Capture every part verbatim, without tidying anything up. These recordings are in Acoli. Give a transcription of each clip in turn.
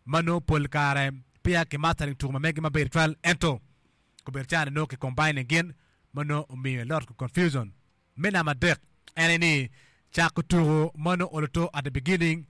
Ma nongo pol kare peya ki mastering tuko ma megi maber twal, ento kobedo cani nongo ki combining gin ma nongo omiyo a lot of confusion. Me namba adek en aye ni cako tuko ma nongo oloto at the beginning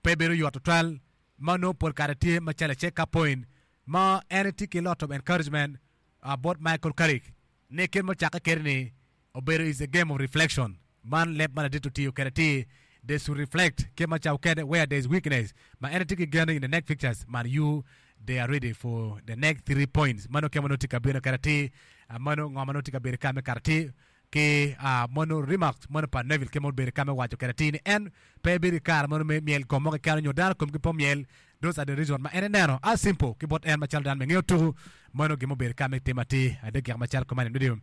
pe bedo yot tutwal, ma nongo pol kare tye macalo a check up point ma en tye ki lot of encouragement uh, bot Michael Carrick ni kit ma ocakke kede ni obedo is a game of reflection. Man leb ma ladit otiyo kede ti they should reflect kit ma cawo kede where there is weakness, ma en tye ki gen in the next fixtures Man U they are ready for the next three points. Mano kit ma nongo tye ka bino kede ti mano ngo ma nongo tye ka bedo ka me kato ti ki uh, mano remarks mano pa Neville kit ma obedo ka me waco kede ti ni en pe bedo ki kare mano me myel kom mo keken nyo dano komgi pe myel. Those are the reason ma en ineno as simple ki bot en macalo dano me ngeyo tuku mano gin mobedo ka me timo atir adek macalo kuman radio.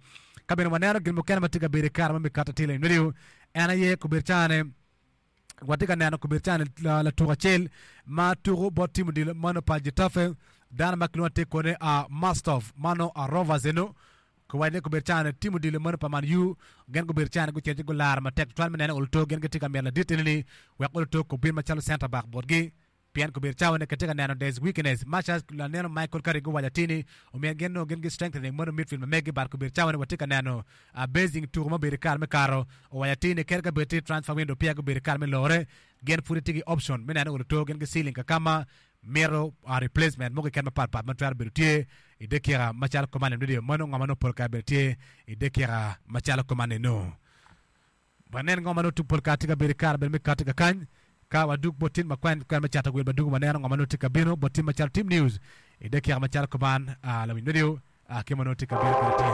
Ka bene waneno gin mukene ma tye ka bedo i kare ma me kato atir radio, en aye kobedo cane watye ka neno kobedo cane latuko acel ma tuko bot tim odilo mano pa Getafe, dano ma kilwongo atir kone uh, Mastov mano uh, Rovers eno kiwaco ni kobedo cane tim odilo mano pa Man U gin gubedo cane gucito ci gularo matek tutwal me neno oluto gin gitye ka mito ladit eni ni wek oluto kobin macalo center back botgi, pien kobedo cawa ni kitye ka neno there's weakness much as laneno Michael Carrick guwaco atir ni omyero gin nongo gin gi strengthening mano midfield ma megi, but kobedo cawa ni watye ka neno uh, basing tuko ma obedo i kare me kato owaco atir ni kadi ka bed tye transfer window peya gubedo i kare me lore, gin pud tye ki option me neno oluto gin gi ceiling kakama mito uh, replacement mo keken mapatpat ma twero bedo tye i dakika macalo kuman radio. Mano ngo ma nongo pol kare bedo tye i dakika macalo kuman eno. Wanen ngo ma nongo pol kare tye ka bedo i kare bedo me kati kakany ka wadug bot tim makwen kwen me cato wil badugu waneno ngo ma nongo tye ka bino bot tim macalo team news i dakika macalo kuman uh, lawiny radio uh, ki ma nongo tye ka bino kede tye.